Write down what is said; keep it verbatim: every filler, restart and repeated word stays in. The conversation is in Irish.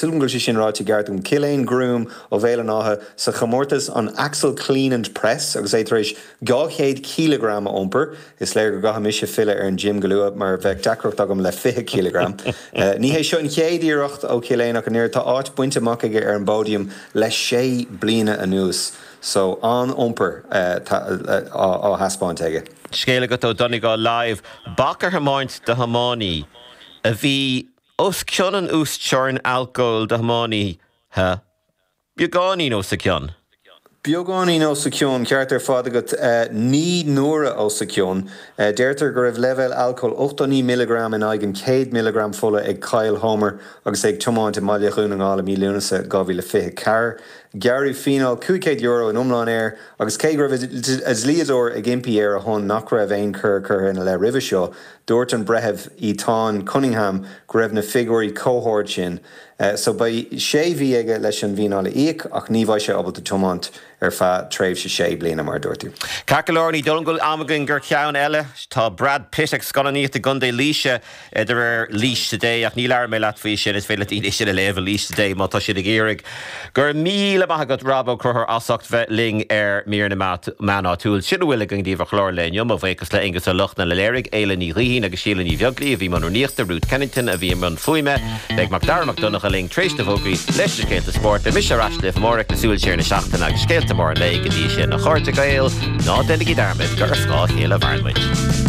Súil go bhfuil sé sin ráite ceart agam Cillian Groom ó Bhéal an Átha sa chomórtas an Axle Clean and Press agus é tar éis dhá chéad cileagram a iompar. Is léir go gcaithfidh mise filleadh ar an gym go luath mar bheadh deacracht agam le fiche cileagram. Ní hé seo an chéad iarracht ó Cillian ach an tá áit bainte amach aige ar an bpódium le sé bliana anuas. So an-iompar á thaispeáint aige. Scéal agat ó Donegal Live, bac ar thiomáint do thiománaí a bhí os cionn an uasteorainn alcóil do thiománaithe beagáinín os a cionn. Beagáinín os a cionn ceart ar fad agat naoi n-uaire os a cionn. Deirtear go raibh leibhéal alcóil ochtó naoi milligram in aghaidh an céad milligram fola ag Kyle Homer agus é ag tiomáint i mBaile Dhún na nGall i mí Lúnasa dhá mhíle fiche ceathair. Gearradh fíneáil cúig chéad euro in iomlán air agus cé go raibh a dhlíodóir ag impí ar a shon nach raibh aon choir curtha ina leith roimhe seo, dúirt an breitheamh Ethan Cunningham go raibh na figiúirí chomh hard sin. So beidh sé mhí aige leis an bhfíneáil a íoc ach ní bheidh sé ábalta tiomáint ar feadh tréimhse sé bliana mar dúirt tú. Ceart go leor ní dóigh liom go bhfuil am againn gur cheann eile. Tá Brad Pitt ag scannánaíocht i gContae Laoise de réir Laois Today ach ní labhróidh mé leat faoi sin is féidir le daoine sin a léamh i Laois Today má tá siad ag iarraidh. Go raibh míle maith agat Rob Ó Conchúir as ucht bheith linn ar Mír na Meán Áitiúil. Sin a bhfuil againn daoibh ar chlár an lae inniu mo bhuíochas le Aengus Ó Lochlainn a léirigh Éile Ní Ghaoithín agus Síle Ní Bheaglaoí a bhí i mbun rúnaíochta Ruth Kennington a bhí i mbun fuaime, beidh Mac Dara Mac Donncha linn tar éis na bhfógraí leis na scéalta spóirt, beidh mise ar ais libh amárach le súil siar na seachtaine agus scéalta móra an lae go dtí sin a chairde Gael ná déanaigí dearmad gur ar scáth a chéile a mhaireann muid.